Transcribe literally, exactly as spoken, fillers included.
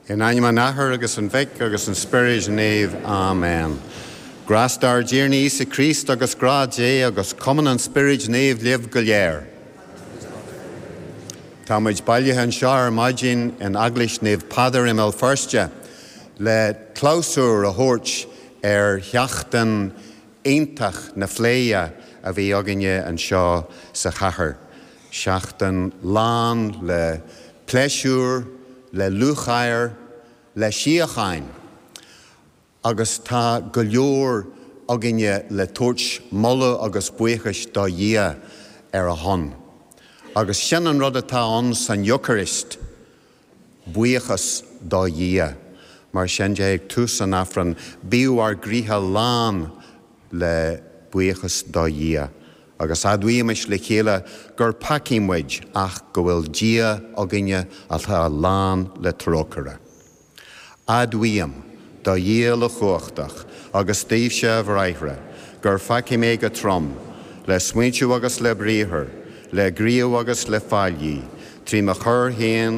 In ainm an Athar agus an Mhic agus an Spioraid Naoimh Amen. Grásta ár dTiarna Íosa Críost agus grá Dé agus cumann an Spioraid Naoimh libh go léir. Tá muid bailithe anseo ar maidin in Eaglais Naomh Peadar i mBéal Feirste le clabhsúr a thabhairt ar sheachtain iontach na Fléithe a bhí againne anseo sa chathair. Seachtain lán le pléisiúr, le lúcháir, le síocháin. Agus tá go leor againne le tabhairt moladh agus buíochas do Dhia ar a shon. Agus sin an rud atá ann san Eocairist, buíochas do Dhia. Mar sin de ag tús an Aifrinn, bíodh ár gcroíthe lán le buíochas do Dhia. Agus admhaímis le chéile gur peacaigh muid ach go bhfuil Dia againne atá lán le trócaire. Admhaím do Dhia uilechumhachtach agus daoibhse a bhráithre, gur pheacaigh mé go trom, le smaointiú agus le briathar, le gníomh agus le faillí, trí mo choir féin